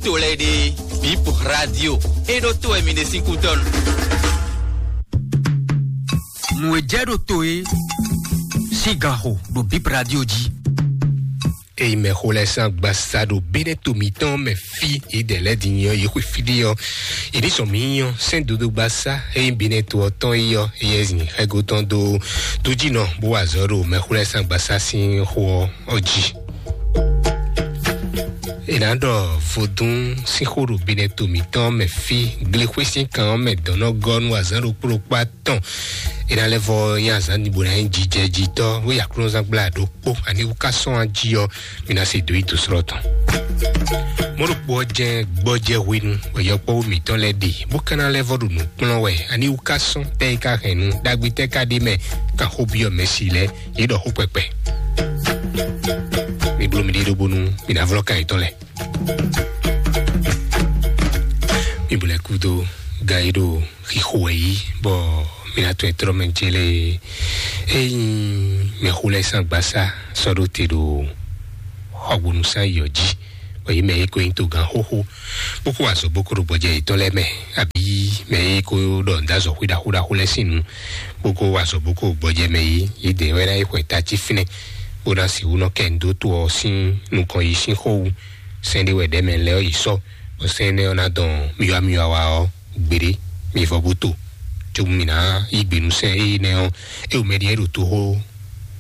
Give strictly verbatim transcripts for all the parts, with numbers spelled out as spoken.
to lɛ́ɛ ɖe, Bip Radio, é ɖó to wɛ mi ɖe sín kútɔ́nu. Nǔ e jɛ ɖo to é sín ganxo ɖo Bip Radio jí. Eyi mɛ xo lɛ san gbasa ɖo bínɛ to mǐtɔn mɛ fí, yi dɛ lɛ di nyɔ yi xwe fí ɖé ɔ, yi ní sɔn mǐ nyɔ sɛn dodo gbasa eyi bínɛ to ɔtɔn yi ɔ, yi ɛzin xɛgo tɔn do dujinɔ bó wa azɔ ɖo mɛ xo lɛ san gbasa sín xo ɔ jí. È nǎ ɖɔ vodún sín xó ɖo bínɛ to mǐtɔn mɛ fí, glexwé sín kan ɔ́ mɛ dɔ̌n nɔ gɔ́ nú azǎn ɖokpó ɖokpó atɔn. È nǎ lɛ́ vɔ nyí azǎn ɖibo ná nyí jijɛjitɔ́, bó yi aklúnɔzán gbla ɖokpó, ani wú ká sɔ́n ají ɔ́, mi ná se dó yi dǒ slɔ́ tɔn. Mɔ̌ ɖokpó ɔ́ jɛ́n gbɔjɛ́ hwenu, wɛ yɔkpɔ́vú mǐtɔn lɛ́ɛ ɖe, bó ka ná lɛ́ vɔ ɖo nǔ kplɔ́n wɛ, ani wú ká sɔ́n, tɛ́ yi ká hɛn nu, ɖagbe tɛ́ ká ɖ'é mɛ, kan xó byɔ́ mɛ si lɛ́ɛ, yě ɖɔ xó kpɛkpɛ. Mi bló mi ɖíɖó bónú mi ná vlɔ́ kan yětɔn lɛ́ɛ. Mi blɛ́ kúdó gan e ɖo xixo wɛ yí, bɔ mi ná tɔn e tlɔ́ mɛ jélé. Ényí mɛ xo lɛ́ sín agbásá sɔ́ ɖó te ɖo xɔgbónúsán yɔ jí, bɔ yě mɛ e ko nyí togán xóxó, bó kó wa azɔ̌ bó kó ɖo gbɔjɛ yětɔn lɛ́ɛ mɛ, abǐ mɛ e ko ɖɔ nǔ dó azɔ̌ xwé ɖaxó ɖaxó lɛ́ɛ sín nu, bó kó wa azɔ̌ bó kó gbɔjɛ mɛ yí, yědɛɛ wɛ ná yi xwɛ tají fínɛ́, bó ná sixú nɔ kɛ nǔ dó to ɔ́ sín nukɔn yi sín xó wú. Sɛ́n ɖé wɛ ɖɛ̌ mɛ lɛ́ɛ ɔ́ yi sɔ́, bɔ sɛ́n énɛ́ ɔ́ ná dɔn myɔwa myɔwa wa ɔ́ gbeɖé, mi vɔ bó to. Cóbú mǐ ná yí gbe nú sɛ́n énɛ́ ɔ́, é wú mɛ ɖíe ɖo toxó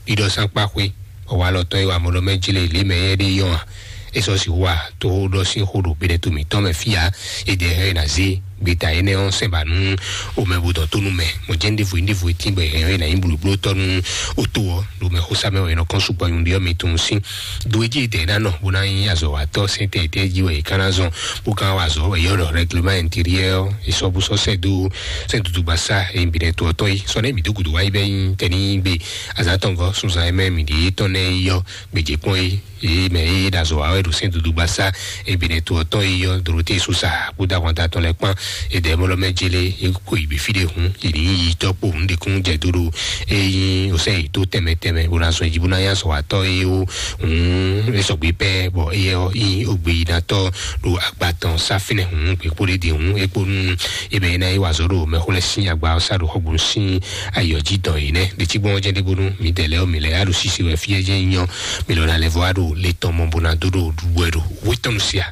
ɖiɖɔ sín akpá xwé, bɔ walɔ tɔn e wa mɔ ɖɔ mɛ jlé lě mɛ éyɛ́ ɖe yɔ́n a? É sɔ́ sixú wa toxó ɖɔ sín xó ɖo gbɛɖɛto mǐtɔn mɛ fí ǎ. É ɖɛ hɛn ná zé gbeta énɛ́ ɔ́ sɛn ba nú omɛ bó dɔn tó nú mɛ. Mɔ̌ jɛ́n ɖěvo nyí ɖěvo e tín bɔ è hɛn ɔ́ è nǎ nyí blǒblótɔ́ nú otó ɔ́, ɖo mɛ xó sá mɛ wɛ è nɔ kɔn sukpɔ nyuɖé ɔ́ mi tunwun sín. Do e jí è dɛ ná nɔ bó ná nyí azɔ̌watɔ́ sɛntɛ́ tɛ́ jí wɛ è ka ná zɔn, bó ka wa azɔ̌ wɛ yɔ́ ɖɔ règlement intérieur ɔ́, è sɔ́ bó sɔ́ sɛ́ dó sɛ́n dudugbasá e bǐ ɖɛ to ɔ́ tɔn yi. Sɔ nɛ́ mǐ dó gǔdo wá yi bɛ́ nyí tɛnígbe azǎn tɔn gɔ́ sunzan e mɛ mǐ ɖe tɔn nɛ́ yi ɔ́, gbějě kpɔ́n yi. Yě mɛ e ɖo azɔ̌ wa wɛ ɖo sɛ́n dudugbasá e bǐ ɖɛ to ɔ́ tɔn yi ɔ́, Dorothée Sosa kpódó ahwanta tɔn lɛ́ɛ kpán. È dɛ mɔ lɔ mɛ jélé, yě kó yi bǐ fí ɖé hǔn, yě ní yi tɔ́ kpo hǔn ɖě kún jɛ dó ɖo é nyí osɛ́ yětó tɛnmɛ tɛnmɛ, bó ná zɔn jí bó ná nyí azɔ̌watɔ́ e ó hǔn é sɔgbe pɛ́, bɔ éyɛ́ ɔ́ nyí ogbeyínátɔ́ ɖo agba tɔn sá fínɛ́ hǔn, gbě kpó ɖé ɖe hǔn, é kpó nú é mɛ é ná yi wa azɔ̌ ɖo mɛxó lɛ́ɛ sín agba ɔ́ sá ɖo xɔgbónu sín ayǐ ɔ́ jí dɔn yě nɛ́. Ɖě cí gbɔn ɔ́ jɛ́n ɖé bónú mǐdɛɛ lɛ́ɛ ɔ́, mǐ lɛ́ ya ɖo sisi wɛ fí é jɛ́n nyí ɔ́, mǐ lɔ ná lɛ́ vɔ wá ɖo le tɔn mɔ bó ná dó ɖo ɖuɖu wɛ ɖo wétɔ́nu sí a?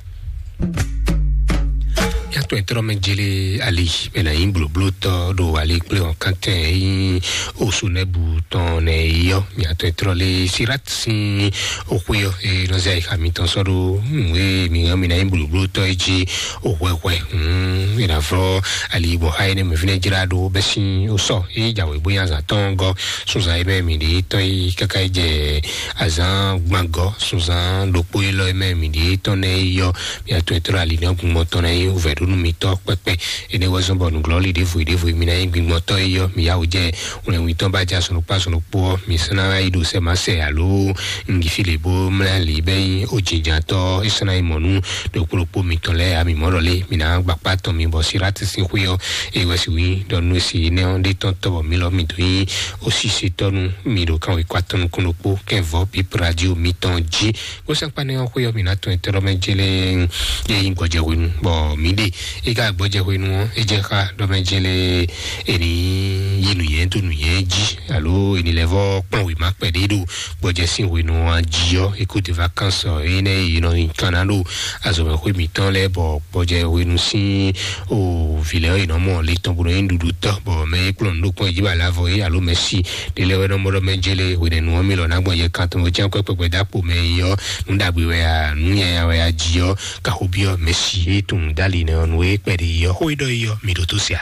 Yàtọ̀ ìtọ́rọ̀ mɛ jele ali mɛ na yin bloblo tɔ ɖo ali kple ɔkantɛ yin osu nɛbu tɔn nɛ yɔ. Yàtọ̀ ìtọ́rọ̀ le sirat sin oxwe yɔ e nɔzɛ ayi xami tɔn sɔ ɖo nue mi hàn mi na yin bloblo tɔ yi dzi oxwɛxwɛ. Hmm, ina fɔ ali bɔ ha yi ne mɛ fi ne dzra ɖo bɛ sin osɔ e dza wɛ bo yin azan tɔn gɔ sunzan yi mɛ mi ɖe tɔ yi kaka yi dze azan gbangɔ sunzan ɖokpo yi lɔ yi mɛ mi ɖe tɔn nɛ yɔ. Mia to etɔ́ ali nɔ gbɔn tɔn na yi wúvɛ ɖó nú mitɔ kpɛkpɛ. Ene wɛ zɔn bɔ nuglɔ li ɖevo ɖevo mi na yi gbingbɔn tɔ yi yɔ mi ya wò jɛ wlɛnwi tɔn ba ja sɔnɔ kpa sɔnɔ kpɔ mi sɔn na yi ɖo sɛ ma sɛ alo ngi fi le bo mla li bɛ yi o jinjan tɔ e sɔn na yi mɔ nu ɖo kpokpo mi tɔn lɛ ami mɔ lɔ le mi na gbakpa tɔn mi bɔ sira ti sin xwe yɔ e wɛ si wi dɔ nu si ne ɔ de tɔn tɔ bɔ mi lɔ mi do yi o si se tɔ nu mi ɖo kan wɛ kɔ atɔn nukun ɖokpo kɛn vɔ pip radio mi tɔn ji. Kó sɛkpanɛ ɔ́ xwé ɔ́ mǐ ná tɔn etɔ́ ɖɔ mɛ jélé yé nyí gbɔjɛhwenu, bɔ mǐ ɖe é ká gbɔjɛhwenu ɔ́ é jɛ xá ɖɔ mɛ jélé é ní yí nǔnyɛ dó nǔnyɛ jí alo é ní lɛ́ vɔ kplɔ́n wěma kpɛɖé ɖo gbɔjɛ sín hwenu ɔ́ jí ɔ́, écoute de vacances ɔ́ é nɛ́ é nɔ nyi kan ná ɖo azɔ̌mɛxwé mǐtɔn lɛ́ɛ bɔ gbɔjɛhwenu sín o vǐ lɛ́ɛ ɔ́ è nɔ mɔ le tɔn bó nɔ nyí ɖuɖu tɔ́, bɔ mɛ é kplɔ́n nǔ ɖo kpɔ́n jí ba lɛ avɔ é alo mɛ sí ɖé lɛ́ɛ wɛ nɔ mɔ ɖɔ mɛ jélé hwenɛ́nu ɔ́ mì lɔ ná gbɔn yɛ kan tɔn bó cyán kwɛ́ kpɛkpɛ dó akpo mɛ yi ɔ́, nǔ ɖagbe wɛ a, nǔ nyanya wɛ a ji ɔ́, kaxo byɔ́ mɛ si e tunwun dali nɛ ɔ́, nǔ e kpɛɖe yi ɔ́, xó e ɖɔ yi ɔ́, mi ɖo tó se a?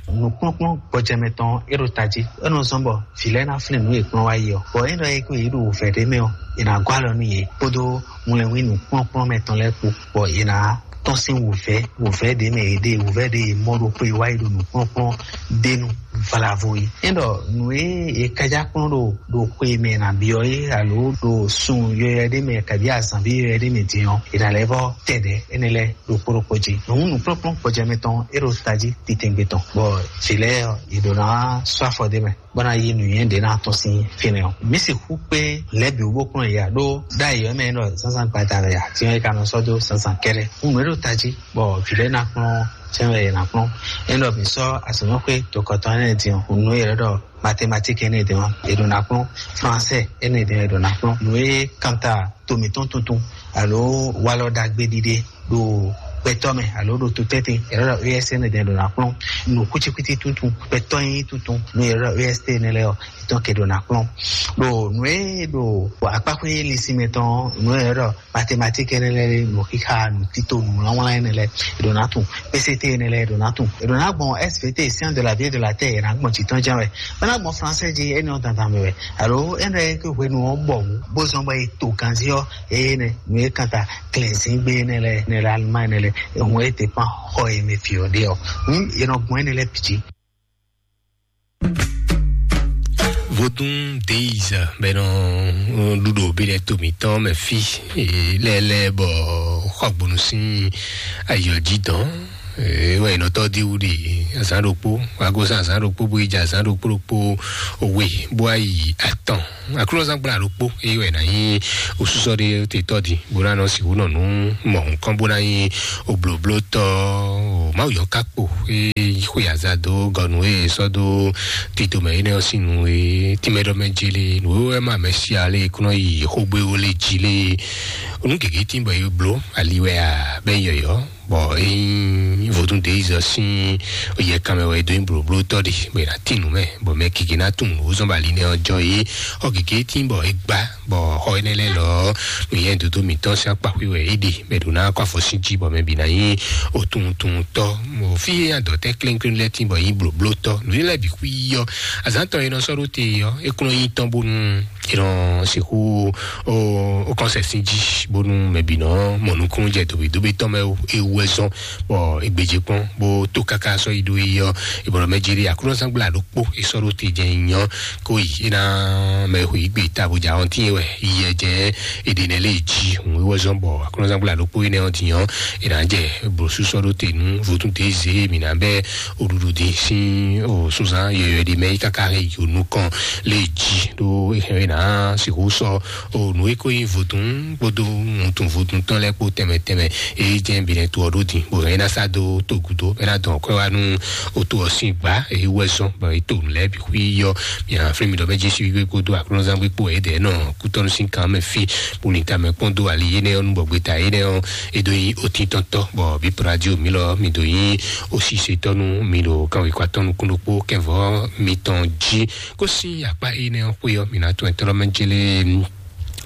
Nǔkplɔ́nkplɔ́n gbɔjɛmɛ tɔn e ɖo tají, é nɔ zɔ́n bɔ vǐ lɛ́ɛ ná flín nǔ e kplɔ́n wá yi ɔ́, bɔ é ɖɔ é kó yě ɖo wǔvɛ́ ɖé mɛ ɔ́, è nǎ gɔ́ alɔ nú yě kpódó wlɛnwí nǔkplɔ́nkplɔ́n mɛ tɔn lɛ́ɛ kpó, bɔ è nǎ tɔ́n sín wǔvɛ́, wǔvɛ́ ɖě mɛ è ɖe, wǔvɛ́ ɖě è mɔ ɖo xwe wá yi ɖo nǔkplɔ́nkplɔ́n ɖé nu vlavo yi. É ɖɔ nǔ e è kájá kplɔ́n ɖo ɖo xwe mɛ è nǎ byɔ́ é alo ɖo sun yɔyɔ ɖé mɛ kabi azǎn bí yɔyɔ ɖé mɛ din ɔ́, è nǎ lɛ́ vɔ tɛ ɖɛ̌ énɛ́ lɛ́ɛ ɖokpó ɖokpó jí. Nǔ nǔkplɔ́nkplɔ́n gbɔjɛmɛ tɔn é ɖo tají titɛngbé tɔn, bɔ vǐ lɛ́ɛ ɔ́, yě ɖǒ ná sɔ́ afɔ ɖé mɛ. bó ná yí nǔnywɛ́ ɖě ná tɔ́n sín fínɛ́ ɔ́. Mǐ sixú kpé lɛ̌ bǐ wú bó kplɔ́n yě ya ɖó ɖ'ayǐ ɔ́ mɛ e ɖɔ zǎnzǎn gbada wɛ a, din ɔ́ é ka nɔ sɔ́ dó zǎnzǎn kɛ́ɖɛ́. Un nǔ e ɖo tají bɔ vǐ lɛ́ɛ ná kplɔ́n ɔ́, sɛn wɛ è nǎ kplɔ́n. É ɖɔ mǐ sɔ́ azɔ̌mɛxwé tokɔtɔn énɛ́ din ɔ́, nǔ e è ɖɔ mathématique énɛ́ din ɔ́, è ɖo ná kplɔ́n, français énɛ́ din ɔ́, è ɖo ná kplɔ́n. Nǔ e kanta to mǐtɔn tuntun alo walɔ ɖagbe ɖiɖe ɖo gbɛtɔ́ mɛ alo ɖo to tɛ́ntin, è ɖɔ E S N D ɖo ná kplɔ́n. Nǔ kwítíkwítí tuntun, gbɛtɔ́ nyí tuntun, nú è ɖɔ E S T nɛ́ lɛ́ɛ ɔ́, è tɔ́n ke ɖo ná kplɔ́n. Ɖo nǔ e ɖo akpákpé linsin mɛ tɔn ɔ́, nǔ e è ɖɔ mathématique nɛ́ lɛ́ɛ, nǔ xixa, nǔ tito, nǔ wlánwlán nɛ́ lɛ́ɛ, è ɖo ná tun. P C T nɛ́ lɛ́ɛ, è ɖo ná tun. È ɖo ná gbɔn S V T, science de la vie et de la terre, è nǎ gbɔn jǐ tɔn jɛ́n wɛ. É ná gbɔn français jí, énɛ́ ɔ́ dandan mɛ wɛ. Alo énɛ́ e hwenu ɔ́ bɔ wǔ, bó zɔ́n bɔ è to ganzí ɔ́, énɛ́ nǔ e kanta klɛ̌nzíngbe énɛ́ lɛ́ɛ, énɛ́ lɛ́ɛ Allemagne énɛ́ lɛ́ɛ, hun e dépend xɔ e mɛ fi ɔ́ ɖe ɔ́, hun e nɔ gbɔn énɛ́ lɛ́ɛ bǐ jí. Vodún Days bɛ nɔ ɖuɖo bí lɛ to mǐtɔn mɛ fí lɛlɛ bɔ xɔgbonu sín ayɔ jí dɔn. Wɛ nɔtɔ di wuli azán ɖokpó, wago sán azán ɖokpó bó yi jɛ azán ɖokpó ɖokpó we bó ayi atɔn. Aklúnɔzán gbla ɖokpó eye wɛ nà nyí osúsɔ ɖé te tɔ́ di bó ná nɔ sixú nɔ nú mɔ nukɔn bó ná nyí oblǒblótɔ́. Mawu yɔ ká kpo eye xwe azado gɔnu eye sɔ́ dó tito mɛ énɛ́ ɔ́ sín nu e tínmɛ ɖɔ mɛ jí lé nǔ e wɛ ma mɛ sia lé kúnɔ yi xógbéwó lé jí lé. Nú gěgé tín bɔ é bló ali wɛ a bɛ nyí yɔyɔ. Bɔ ényí vodún de izɔ sín yɛ kanmɛ wɛ dó nyí blǒblótɔ́ ɖe bɔ è nǎ tín nǔ mɛ bɔ mɛ gěgé ná tunwun nǔ zɔ́n bɔ ali nɛ́ ɔ́ jɔ é. Xɔ gěgé tín bɔ é gbá bɔ xɔ énɛ́ lɛ́ɛ lɔ nǔnyɛ́ dodó mǐtɔn sín akpáxwé wɛ é ɖe bɔ è ɖǒ ná kɔ afɔ sín jí bɔ mɛ bǐ ná nyí otunwuntunwuntɔ́. Mɔ fí e adɔ̌tɛ́ kléŋkléŋ lɛ́ɛ tín bɔ é nyí blǒblótɔ́ nǔ lɛ́ɛ bǐ xwí yɔ. Azǎn tɔn e nɔ sɔ́ ɖó te ɔ́ é kún nɔ nyí tɔn bónú è nɔ sixú ó kɔnsɛ sín jí bónú mɛ bǐ nɔ mɔ nukúnnú jɛ dǒbídóbí tɔn mɛ é wú wɛ zɔn bɔ é gbéjé kpɔ́n bó tó káká sɔ́ yi ɖó yi ɔ́. Ìbɔ̀rọ̀ mɛ jeli Aklúnɔzán gbla ɖokpó é sɔ́ ɖó te jɛ nyɔ kó yi é ná mɛ hu yi gbe ta bó jɛ awɔntín wɛ yi yɛ jɛ èdè nɛ lé jí hùn é wɛ zɔn bɔ Aklúnɔzán gbla ɖokpó énɛ́ ɔ́ din ɔ́ è nǎ jɛ blǒsú sɔ́ ɖó te nú vodún dé zé mǐ ná bɛ́ oɖuɖu dín sín o súnzán yɔyɔ ɖi mɛ yi káká hɛn yi nukɔn lé jí ɖó é hɛn é ná sixú sɔ́ o nǔ e ko nyí vodún kpódó wuntun vodún tɔn lɛ́ɛ kpó tɛnmɛ tɛnmɛ e jɛ bǐnɛ to ɔ́ ɖó din bó hɛn é ná sá dó to gúdo bɔ é ná dɔn kwɛ́ wá nú o to ɔ́ sín gbǎ e wú wɛ zɔ́n bɔ é to nǔ lɛ́ɛ bǐ xwí yɔ. Mǐ ná flín mi ɖɔ bɛ́ Jesu gbígbé kpódó Aklúnɔzán gbé kpó ɛ̌dɛ̌ nɔ kútɔ́nú sín kan mɛ fí bó lin tamɛ kpɔ́n dó ali énɛ́ ɔ́ nú bɔ gbeta énɛ́ ɔ́ é dó nyí otíntɔ́ntɔ́ bɔ bí pradio mi lɔ mi dó nyí osísetɔ́ nú mi ɖo kanwekɔatɔ́ nukún ɖokpó kɛnvɔ́ mitɔn jí. Kó sín akpá énɛ́ ɔ́ xwé ɔ́, mǐ ná tún ɛtɔ́ mɛ jélé.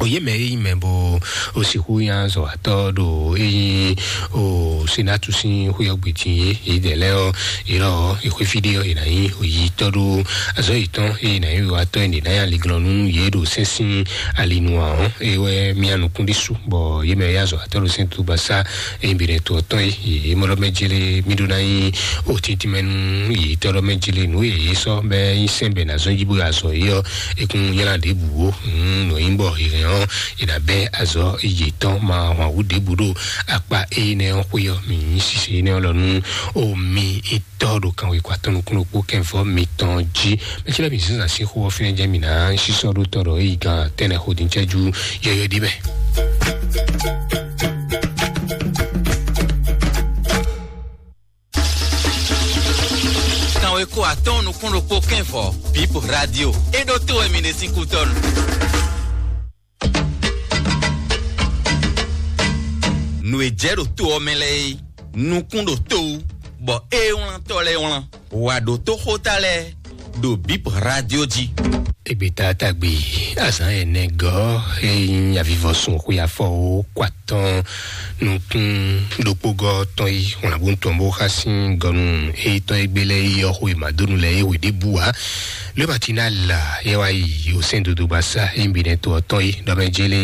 Oyě mɛ e nyí mɛ bó o sixú nya zɔ atɔ́ ɖo e nyí o senatu sín xwé ɔ́ gbe din é, é dɛ lɛ́ɛ ɔ́, é lɔ ɔ́, é xwé fí ɖé ɔ́, é ná nyí oyi tɔ́ ɖó azɔ̌ yětɔn, é ná nyí wiwatɔ́ é ná nyí aliglɔ́ nú yě ɖo sɛ́n sín ali nu ǎ ɔ́, é wɛ mía nukún ɖésú bɔ yě mɛ ya zɔ atɔ́ ɖo sɛ́n tó gbasá é nyí bǐ ɖɛ to ɔ́ tɔn é, yě mɔ ɖɔ mɛ jélé mí ɖó ná nyí o tíntín mɛ nú yě tɔ́ ɖɔ mɛ jélé nǔ e yě sɔ́ bɛ nyí sɛ́n bɛ ná zɔ́n jí bó yi azɔ̌ é ɔ́, é kún nylá ɖěbǔ ó. Nǔ nyí bɔ è hɛn ɔ́, è nǎ bɛ́ azɔ̌ yětɔn ma hwan wǔ ɖěbǔ ɖo akpá énɛ́ ɔ́ xwé ɔ́, mǐ nyí sise énɛ́ ɔ́ lɔ nú o mi tɔ́ ɖo kanwekɔ atɔn nukún ɖokpó kɛnvɔ́ mitɔn jí. Mɛ cí lɛ́ mǐ zínzǎn sín xó ɔ́ fínɛ́ jɛ́n mǐ ná sísɔ́ ɖó tɔ́ ɖɔ é yi gán tɛ́nɛ xo din cɛ́jú yɔyɔ ɖi mɛ. Kanwekɔ atɔn nukún ɖokpó kɛnvɔ́ Bip Radio é ɖó tó wɛ mi ɖe sín kútɔ́nu. Nǔ e jɛ ɖo to ɔ́ mɛ lɛ́ɛ é, nukún ɖo to wú, bɔ é wlántɔ́ lɛ́ɛ wlán. Wǎ ɖó tó xóta lɛ́ɛ ɖo Bip Radio jí. Egbeta tagbe azǎn ɛnɛ gɔ́ e nyí avivɔsun xwe afɔ wo kɔ atɔn nukún ɖokpógɔ́ tɔn yi wlǎnbú tɔn bó xá sín gɔnu e tɔn e gbé lɛ́ɛ yi ɔ́ xwe mǎdónu lɛ́ɛ e hwe ɖěbǔ ǎ. Lómatina la yɛ wá yi osɛn dodo gbasá e nyí binɛ to ɔ́ tɔn yi ɖɔ mɛ jélé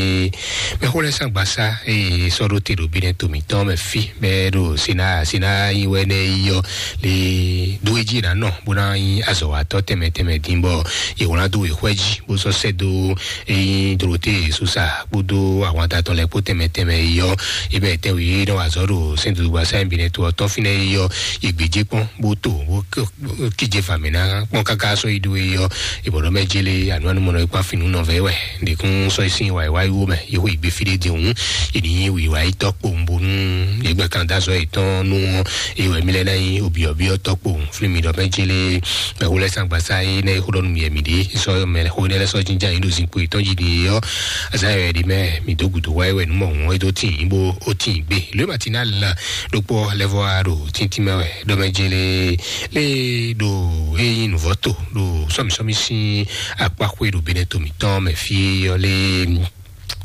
mɛxó lɛ́ɛ sán gbasá eye sɔ́ ɖó te ɖo binɛ to mǐtɔn mɛ fí bɛ́ ɖo sena sena yi wɛ nɛ yi ɔ́ le ɖó edzi ná nɔ bó ná nyí azɔ̌watɔ́ tɛnmɛ tɛnmɛ dín bɔ yě wlán dó wěxwɛ́ jí bó sɔ́ sɛ́ dó e nyí Dorote Sosa kpódó ahwanta tɔn lɛ́ɛ kpó tɛnmɛ tɛnmɛ yi ɔ́, yi bɛ tɛnwe e nɔ wa azɔ̌ ɖo sɛ́n dodo gbasá e binɛ to ɔ́ tɔn fínɛ́ yi ɔ́, yi gbějé kpɔ́n bó to bó kíje fǎmɛ ná kpɔ́n káká sɔ́ yi ɖó yɔ ìbọ̀dọ̀ mɛ jele ànúwánúmọ̀nà ipá fínú nɔvɛ wɛ. Ndekún sɔ isin wà ìwá iwó mɛ yóò ìgbé fi ɖé di òun. Ìní wìwá itọ́ kpòǹbonú ìgbẹ́ kan dá sọ ìtọ́nú wọn. Ìwé mi lɛ náà yín òbíọ̀bíọ̀ tọ́ kpòǹ fún mi dọ̀ mɛ jele. Mɛ wó lɛ sàgbàsá yé náà ìhó dɔnú mi ẹ̀mí dé sọ mɛ hó ní lɛ sọ jíjà yín ɖo zinkpo ìtọ́jú ni yọ. Azá yɔ ɛ̀dí mɛ mi dó gùdó wáyé wɛ nú mọ̀ wọ́n é tó tì yín bó ó tì yín gbé. Lóyè màtí náà la ɖokpó lɛvɔ aɖo títí mɛ wɛ dɔmɛ jele lé ɖo eyin nuvɔto ɖo sɔmisɔmi sín akpaxwe ɖo benɛ tomitɔn mɛ fí yɔ lé.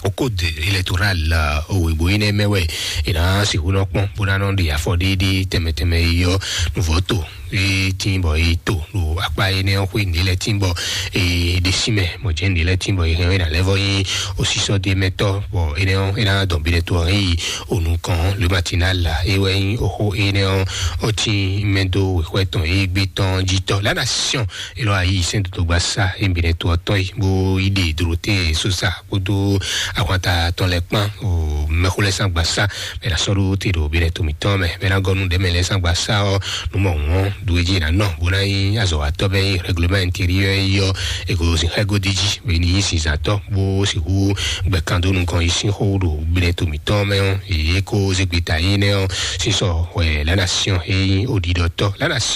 Au code électoral, owó ìbò yín mɛ wɛ ìná sìnkú nɔ kpɔn bó ná nɔ ɖe afɔ ɖéɖé tɛmɛtɛmɛ yɔ nuvɔto e tí bɔ e to ɖo akpa énɛ́ ɔ́ xwé ní lɛ tí bɔ e ɖe sí mɛ mɔ jẹ́ ní lɛ tí bɔ e hɛn ɔ́ e ná lɛ́ vɔ nyí osísɔ ɖé mɛtɔ́ bɔ énɛ́ ɔ́ e ná dɔn bi ɖɛ to ɔ́ yi onukɔn lómatina la e wɛ nyí oxó énɛ́ ɔ́ ɔ́ tí mɛ dó wěxwɛ tɔn e gbé tɔn jí tɔ la nation e lɔ ayi sɛn dodogba sa e bi ɖɛ to ɔ́ tɔn yi bó yi ɖe dorote sosa kpódó ahwanta tɔn lɛ kpán o mɛxó lɛ sán gbasa mɛ na sɔɖo te ɖo bi ɖɛ to mǐtɔn mɛ mɛ na gɔnu ɖɛ mɛ lɛ sán gbasa ɔ numɔ wɔn do edzi na nɔ bó ná nyí azɔwatɔ bɛ nyí règlement intérieur yɔ ego sin xɛgodi dzi bɛ ní nyí sinzatɔ bó sixú gbɛkan dó nukɔn yi sín xó ɖo bi ɖɛ to mǐtɔn mɛ ɔ yě kó zegbeta yín nɛ ɔ sísɔ wɛ la nation e nyí oɖiɖɔtɔ la nation